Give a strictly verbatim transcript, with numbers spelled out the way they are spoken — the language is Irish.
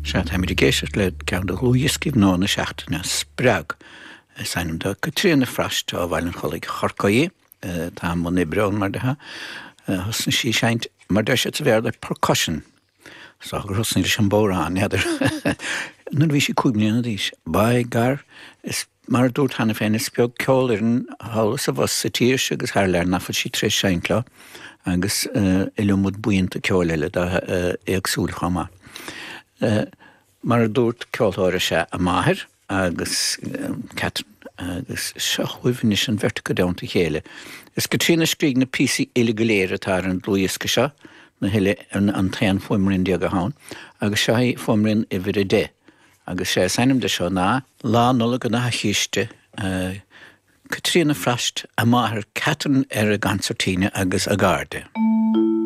Sea, táimid ag éisteacht le ceann de dhlúthdhioscaí nua na seachtaine, Spreag is ainm dó. Caitríona Frost ó Bhaile an Chollaigh Chorcaí, atá i mbun oibre ann, mar atá. Thosnaigh sí ag seinnt, mar deir siad sa Bhéarla, percussion. So gur thosnaigh leis an bodhrán, n'fheadar. Nuair a bhí sí cúig mbliana d'aois. By gar, is mar a dúrt cheana féin, is beag ceolfhoireann thall is abhus sa tír seo agus thar lear nach bhfuil sí tar éis seinnt leo, agus iliomad buíonta ceoil eile dá éagsúil chomh maith. Mar a dúrt, ceoltóir is ea a máthair agus Catherine agus seo chugaibh anois an bheirt acu i dteannta a chéile. Is Caitríona a scrígh na píosaí uile go léir atá ar an dlúthdhiosca seo, na huile, an t-aon fuaimrian déag atá ann, agus seo í fuaimrian uimhir a deich. Agus sé is ainm de seo ná Lá Nollag an Fhathaigh Chíste, Caitríona Frost, a máthair Catherine ar an gconsairtín agus a gcairde.